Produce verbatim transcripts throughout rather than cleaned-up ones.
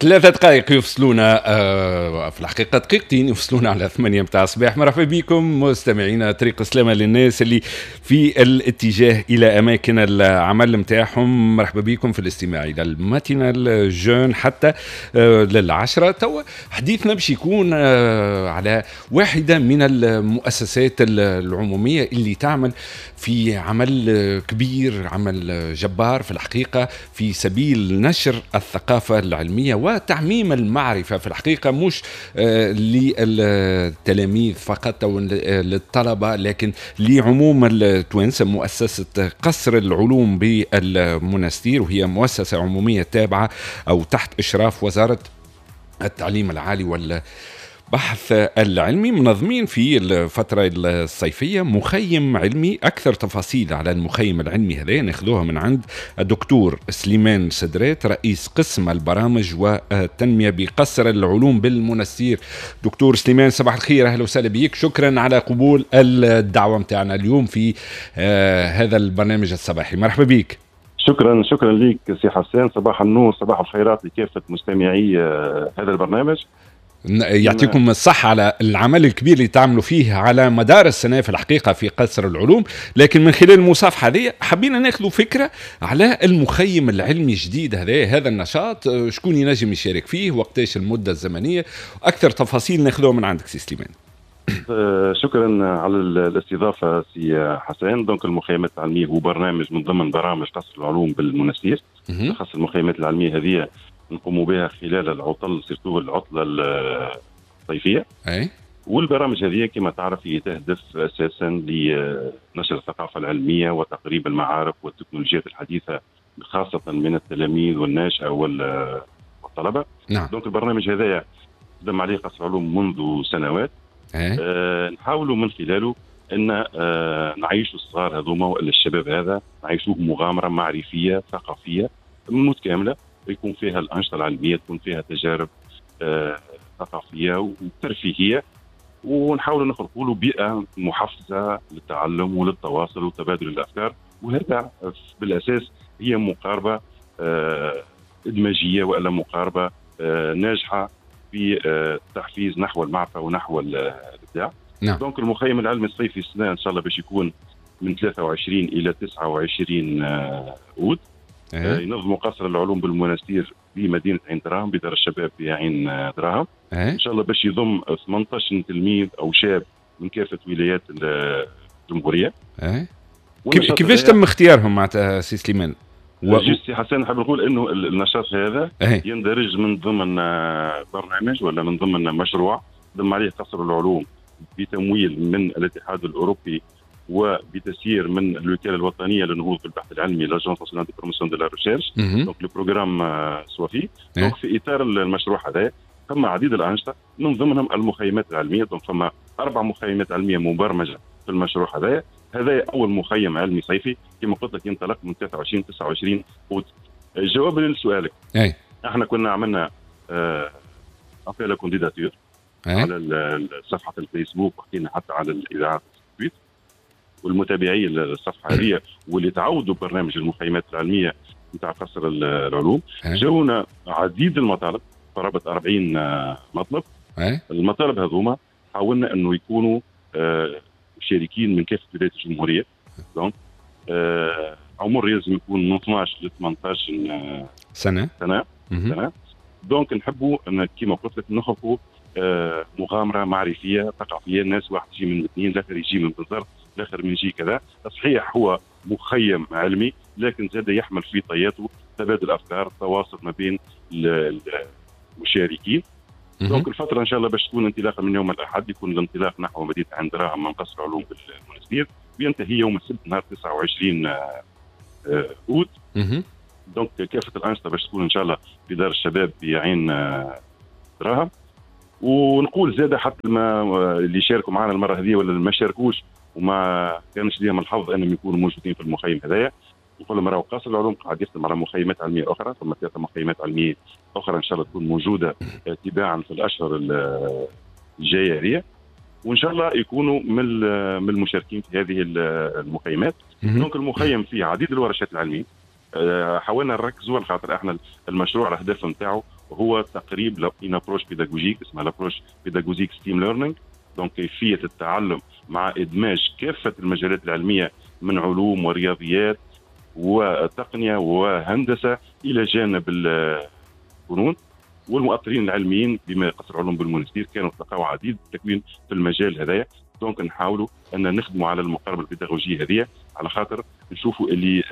ثلاثة دقائق يفصلونا آه، في الحقيقة دقيقتين يفصلونا على ثمانية متاع الصباح. مرحبا بكم مستمعينا، طريق سلامة للناس اللي في الاتجاه إلى أماكن العمل متاعهم. مرحبا بكم في الاستماع إلى ال matinale jeune حتى آه، للعشرة. توا حديثنا باش يكون آه، على واحدة من المؤسسات العمومية اللي تعمل في عمل كبير، عمل جبار في الحقيقة، في سبيل نشر الثقافة العلمية وتعميم المعرفة في الحقيقة، مش آه، للتلاميذ فقط أو للطلبة لكن لعموم التوانسة. مؤسسة قصر العلوم بالمنستير، وهي مؤسسة عمومية تابعة أو تحت إشراف وزارة التعليم العالي وال بحث العلمي، منظمين في الفترة الصيفية مخيم علمي. أكثر تفاصيل على المخيم العلمي هذا ناخذوها من عند الدكتور سليمان سدرات، رئيس قسم البرامج والتنمية بقصر العلوم بالمنستير. دكتور سليمان، صباح الخير، أهلا وسهلا بك، شكرا على قبول الدعوة متاعنا اليوم في آه، هذا البرنامج الصباحي، مرحبا بك. شكرا شكرا لك سي حسان، صباح النور، صباح الخيرات لكافة مستمعي آه، هذا البرنامج. يعطيكم الصحة على العمل الكبير اللي تعملوا فيه على مدار السنة في الحقيقة في قصر العلوم، لكن من خلال المصافحة هذه حبينا ناخذ فكرة على المخيم العلمي الجديد هذا، هذا النشاط، شكون ينجم يشارك فيه، وقتاش، المدة الزمنية، أكثر تفاصيل ناخذوها من عندك سي سليمان. آه، شكرا على الاستضافة سي حسان. donc المخيمات العلمية هو برنامج من ضمن برامج قصر العلوم بالمنستير. خاص المخيمات العلمية هذه نقوم بها خلال العطل، surtout العطلة الصيفيه. اي والبرامج هذه كما تعرف هي تهدف اساسا لنشر الثقافة العلمية وتقريب المعارف والتكنولوجيات الحديثة، خاصة من التلاميذ والناشئه والطلبه. نعم donc البرنامج هذايا خدم عليه قصر العلوم منذ سنوات. ايه؟ آه نحاولوا من خلاله ان آه نعيشوا الصغار هذوما والا الشباب هذا، نعيشوه مغامرة معرفية ثقافية متكامله، يكون فيها الانشطة العلميه، تكون فيها تجارب آه ثقافية وترفيهيه، ونحاولوا نخلقوا له بيئة محفزه للتعلم وللتواصل وتبادل الافكار. وهذا بالاساس هي مقاربة آه ادماجيه والا مقاربة آه ناجحة في التحفيز نحو المعرفة ونحو الابداع. نعم. donc المخيم العلمي الصيفي السنة ان شاء الله باش يكون من ثلاثة وعشرين الى تسعة وعشرين اوت. إيه؟ ينظموا قصر العلوم بالمنستير بمدينة عين دراهم، بدار الشباب بعين دراهم. إيه؟ ان شاء الله باش يضم ثمنطاش تلميذ او شاب من كافة ولايات الجمهوريه. إيه؟ كيفاش تم اختيارهم معناتها سي سليمان؟ و... juste سي حسن، نحب نقول انه النشاط هذا إيه؟ يندرج من ضمن برنامج ولا من ضمن مشروع خدم عليه قصر العلوم بتمويل من الاتحاد الاوروبي وبتسيير من الوكالة الوطنية للنهوض بالبحث العلمي، l'Agence nationale de promotion de la recherche، donc le programme SOAFEE. donc في اطار المشروع هذا ثم عديد الانشطه، من ضمنهم المخيمات العلميه. donc فما اربع مخيمات علمية مبرمجه في المشروع هذا. هذا اول مخيم علمي صيفي كما قلت لك ينطلق من ثلاثة وعشرين تسعة وعشرين اوت. جوابا لسؤالك، اي احنا كنا عملنا appel à candidature على صفحة الفيسبوك، وحكينا حتى على الاذاعات والمتابعين للصفحه هذه واللي تعودوا برنامج المخيمات العلمية نتاع قصر العلوم. جاونا عديد المطالب، قرابة أربعين مطلب. المطالب هذوما حاولنا انه يكونوا آه، مشاركين من كافة ولايات الجمهوريه. donc آه، عمر لازم يكون من اثناش ل ثمنطاش سنه. سنه سنه. donc نحبوا ان كما قلت لك نخلقوا آه، مغامرة معرفية ثقافيه، الناس واحد يجي من مدنين، الاخر يجي من بنزرت، الاخر من يجي كذا. صحيح هو مخيم علمي لكن زاد يحمل في طياته تبادل افكار، تواصل ما بين المشاركين. donc الفترة ان شاء الله باش تكون انطلاقا من يوم الاحد، يكون الانطلاق نحو مدينة عين دراهم من قصر العلوم بالمنستير، وينتهي يوم السبت نهار تسعة وعشرين آه، اوت. donc كافة الانشطة باش تكون ان شاء الله في دار الشباب بعين آه، دراهم. ونقول زاد حتى ما اللي شاركوا معنا المرة هذه ولا اللي ما شاركوش وما كانش ليهم الحظ انهم يكونوا موجودين في المخيم هذايا، نقول لهم راهو قصر العلوم قاعد يخدم على مخيمات علمية اخرى. ثم ثلاثة مخيمات علمية اخرى ان شاء الله تكون موجودة تباعا في الاشهر الجاية هذه، وان شاء الله يكونوا من من المشاركين في هذه المخيمات. donc المخيم فيه عديد الورشات العلميه. حاولنا نركزوا على خاطر احنا المشروع الهدف نتاعو هو تقريب une approche pédagogique اسمها l'approche pédagogique STEAM learning، donc كيفية التعلم مع ادماج كافة المجالات العلمية من علوم ورياضيات وتقنية وهندسة الى جانب الفنون. والمؤطرين العلميين بما قصر العلوم بالمونستير كانوا تلقاو عديد التكوين في المجال هذايا. donc نحاولوا ان نخدموا على المقاربة البيداغوجيه هذه على خاطر نشوفوا اللي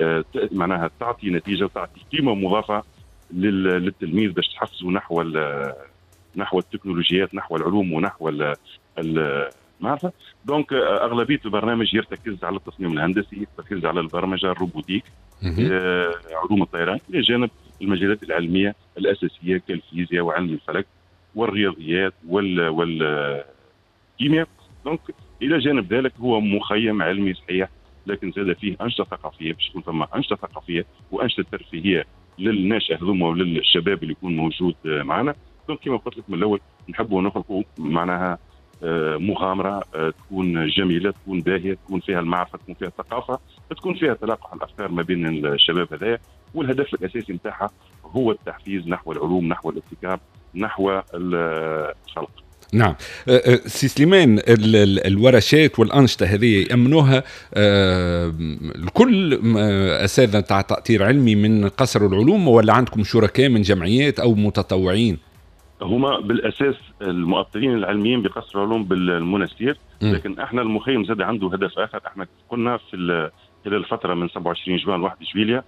معناها تعطي نتيجة وتعطي قيمة مضافة للتلميذ باش تحفزه نحو نحو التكنولوجيات، نحو العلوم، ونحو المعرفة. donc اغلبية البرنامج يرتكز على التصميم الهندسي، يرتكز على البرمجة، ال robotique، علوم الطيران، الى جانب المجالات العلمية الاساسية كالفيزياء وعلم الفلك والرياضيات وال والكيمياء. donc الى جانب ذلك هو مخيم علمي صحيح، لكن زاد فيه انشطة ثقافية، باش يكون ثم انشطة ثقافية وانشطه ترفيهية للناشئ هذوما وللشباب اللي يكون موجود معنا. donc كما قلت لك من الاول نحبوا نخلقوا معناها مغامرة تكون جميلة، تكون باهيه، تكون فيها المعرفة، تكون فيها الثقافة، تكون فيها تلاقح الافكار ما بين الشباب هذايا. والهدف الاساسي نتاعها هو التحفيز نحو العلوم، نحو الابتكار، نحو الخلق. نعم سي سليمان، الورشات والأنشطة هذه يأمنوها الكل أساتذة تاع تأطير علمي من قصر العلوم، ولا عندكم شركاء من جمعيات أو متطوعين؟ هما بالأساس المؤطرين العلميين بقصر العلوم بالمنستير، لكن احنا المخيم زاد عنده هدف آخر. احنا قلنا في خلال الفترة من سبعة وعشرين جوان واحد جويلية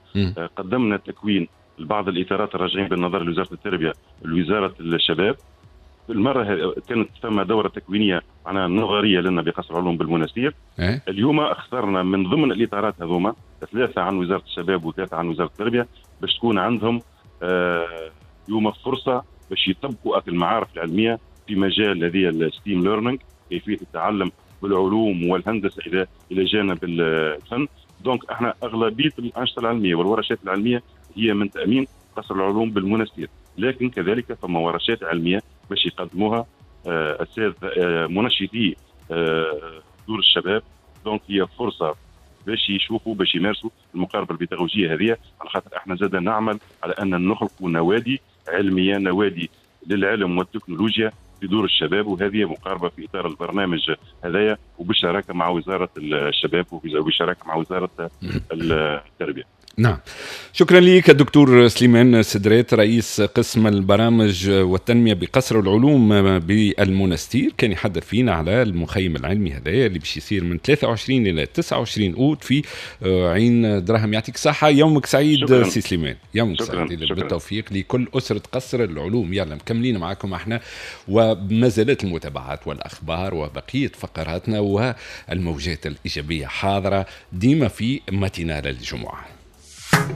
قدمنا تكوين لبعض الإطارات الراجعين بالنظر لوزارة التربية لوزارة الشباب. المرة كانت ثم دورة تكوينية معناها نظرية لنا بقصر العلوم بالمنستير. إيه؟ اليوم اخترنا من ضمن الإطارات هذوما ثلاثة عن وزارة الشباب وثلاثة عن وزارة التربية باش تكون عندهم آه اليوم فرصة باش يطبقوا المعارف العلمية في مجال هذه ال STEAM learning، كيفية التعلم بالعلوم والهندسة إلى إلى جانب الفن. donc احنا أغلبية الأنشطة العلمية والورشات العلمية هي من تأمين قصر العلوم بالمنستير، لكن كذلك ثم ورشات علمية باش يقدموها اساتذة منشطي دور الشباب. donc هي فرصة باش يشوفوا، باش يمارسوا المقاربة البيداغوجيه هذه، على خاطر احنا زاد نعمل على ان نخلقوا نوادي علمية، نوادي للعلم والتكنولوجيا في دور الشباب، وهذه مقاربة في اطار البرنامج هذايا وبالشراكه مع وزارة الشباب وبالشراكه مع وزارة التربية. نعم، شكرا لك الدكتور سليمان سدرات رئيس قسم البرامج والتنمية بقصر العلوم بالمنستير، كان يحدث فينا على المخيم العلمي هذا اللي باش يصير من ثلاثة وعشرين إلى تسعة وعشرين أوت في عين دراهم. يعطيك صحة، يومك سعيد سي سليمان، يومك سعيد، بالتوفيق لكل أسرة قصر العلوم. يلا مكملين معكم احنا وما زالت المتابعات والأخبار وبقية فقراتنا والموجات الإيجابية حاضرة ديما في matinale الجمعة.